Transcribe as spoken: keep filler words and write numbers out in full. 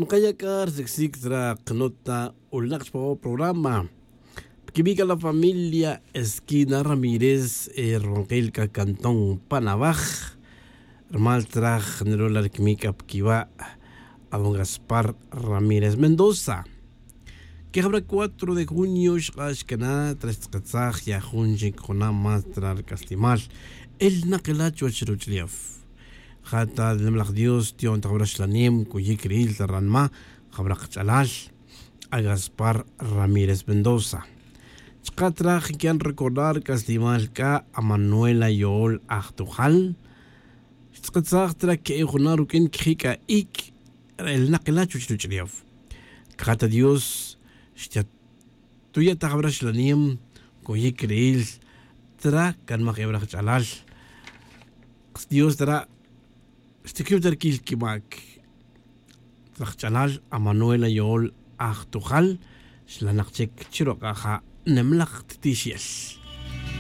Kaya' c'a rsicsic'tra kanota ulenak chupao programa. Pquibi' c'a la familia esquina ramírez, runkil c'a cantón panabaj. Rumal traj nrula' rquimic c'a pquiba', aban gaspar ramírez mendoza. Quejabra cuatro de junio xk'a' xcana tra xtz'aketsaj ya jun chic juna' más tra rc'aslimal. Elnak ila' chuwech ruch'ulef. Ja ta nimlaj dios tiyon ta jabra xlanem cuyic ri'il ta ranma jabra kach'alal, agaspar ramírez mendoza. Chka' traj ncan recordar rc'aslimal c'a amanuela yo'ol ajtojal. Xtz'aketsaj tra que'e juna' ruq'uin quiji' c'a ic' elnak ila' chuwech ruch'ulef. Caja ta dios xta tuya' ta jabra xlanem cuyic ri'il tra canmaj ebra jach'alal. Dios tara' xtiquiw ta rquil quimac traj ch'alal amanuela yo'ol ajtojal. Xlanak chic chiruk'a' ja' nimlaj ttixel.